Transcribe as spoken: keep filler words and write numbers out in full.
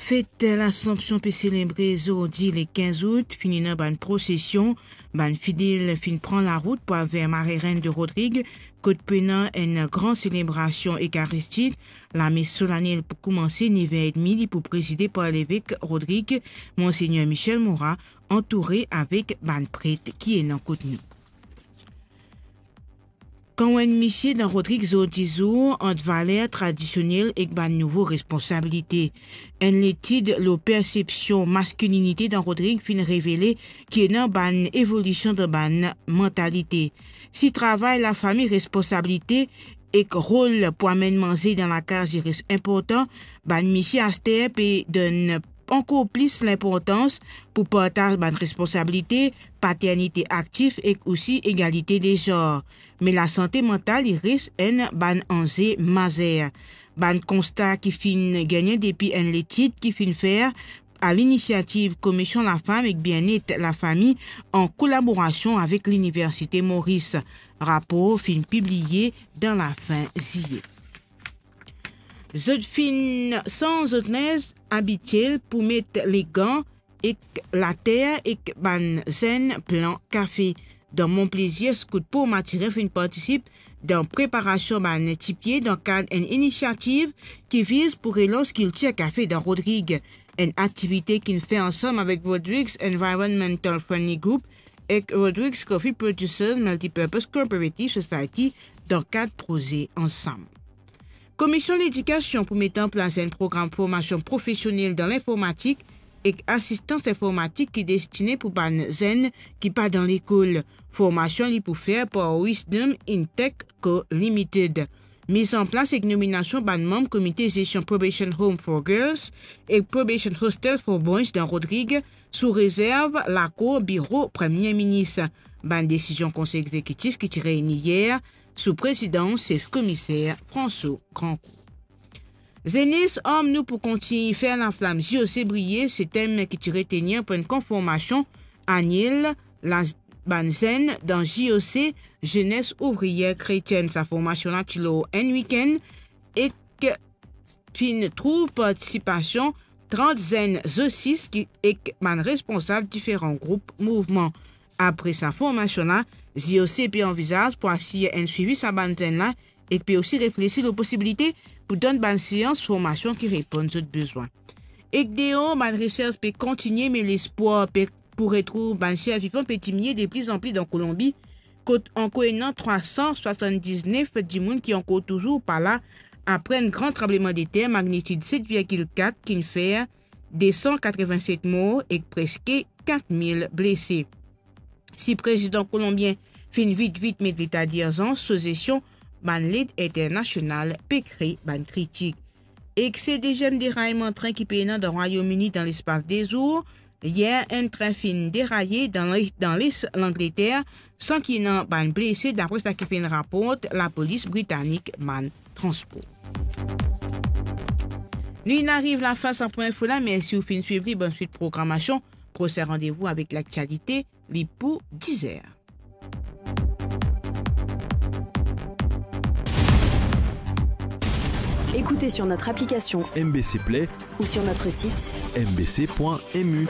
Fet Lasanpsion pe selebre zordi le kinz out, finn ena bann prosesion, bann fidel finn pran larout pou al ver Marie-Reine de Rodrigues, kot pou ena enn gran selebrasion Ekaristik. Lames solanel pou koumanse nev er edmi, li pou prezide par levek Rodrigues, Monsegner Michel Morat, antoure avek bann pret ki ena kot nou. Kan ou enn misie dan Rodrigues zordi zour ant valer tradisionel ek bann nouvo responsabilite. Enn letid lor persepsion maskilinite dan Rodrigues finn revele ki ena bann evolision dan bann mantalite. Si travay lafami, responsabilite ek rol pou amenn manze dan lakaz li res inportan, bann misie aster pe donn ankor plis linportans pou partaz bann responsabilite, paternite aktif ek osi egalite de zar. Me lasante mantal li res enn bann anze mazer. Bann konsta ki finn gagne depi enn letid ki finn fer a linisiativ Komisionn Lafam ek Bienet Lafami an kolaborasion avek Liniversite Moris. Rapor finn pibliye dan lafin ziye. Zot finn sanz zot linz abitiel pou met legan ek later ek bann zenn plan kafe. Dan Mont Plaisir, Scout Port Mathurin finn partisip dan preparasion bann tipie dan kad enn inisiativ ki viz pou relans kiltir kafe dan Rodrigues. Enn aktivite ki'nn fer ansam avek Rodrigues Environmental Friendly Group ek Rodrigues Coffee Producers Multipurpose Cooperative Society dan kad proze Ansam. Komision Ledikasion pou met an plas enn program formasion profesionel dan linformatik ek asistans informatik ki destine pou bann zenn ki pa dan lekol. Formasion li pou fer par Wisdom Intech Co Limited. Miz an plas ek nominasion bann manm Komite Zestion Probation Home for Girls ek Probation Hostel for Boys dan Rodrigues sou rezerv lakor Biro Premie Minis. Bann desizion Konsey Egzekitif ki ti reyni yer sou prezidans Sef Komiser François Grandcourt. Zenes, arm nou pou kontign fer laflam J O C briye, se tem ki ti retenir pou enn konfermasion aniel la bann zenn dan J O C, Jeunesse Ouvrière Chrétienne. Sa formasion la ti lor enn wikenn ek finn trouv partisipasion trant zenn zosis ki, ek bann responsab diferan group mouvman. Apre sa formasion la, J O C pe anvizaz pou asir enn swivi sa bann zenn la ek pe osi reflesi lor posibilite pou donn bann seans formasion ki reponn zot bezwin. Ek deor, bann resers pe kontinie, me lespwar pe, pou retrouv bann ser vivan pe diminie de pli an pli dan Kolonbi, kot ankor ena trwa san swasann-diznef dimoun ki ankor touzour pa la, apre enn gran tranblemandeter magnitid set virgil kat ki'nn fer de san katreven-set mor ek preske kat mil blese. Si prezidan kolonbien finn vit vit met leta dirzans sou zesion bann led internasional, pe kre bann kritik. Ek se deziem derayman trin ki pe ena dan Rwayom Ini dan lespas de zour. Yer, enn trin finn deraye dan le-, dan les Langleter, san ki ena bann blese, dapre seki finn raport lapolis britanik bann transpor. Nou inn ariv lafin sa pwin info la. Mersi ou finn swiv li. Bonn swit programasion. Prosin randevou avek laktialite, li pou diz er. Écoutez sur notre application M B C Play ou sur notre site M B C point M U.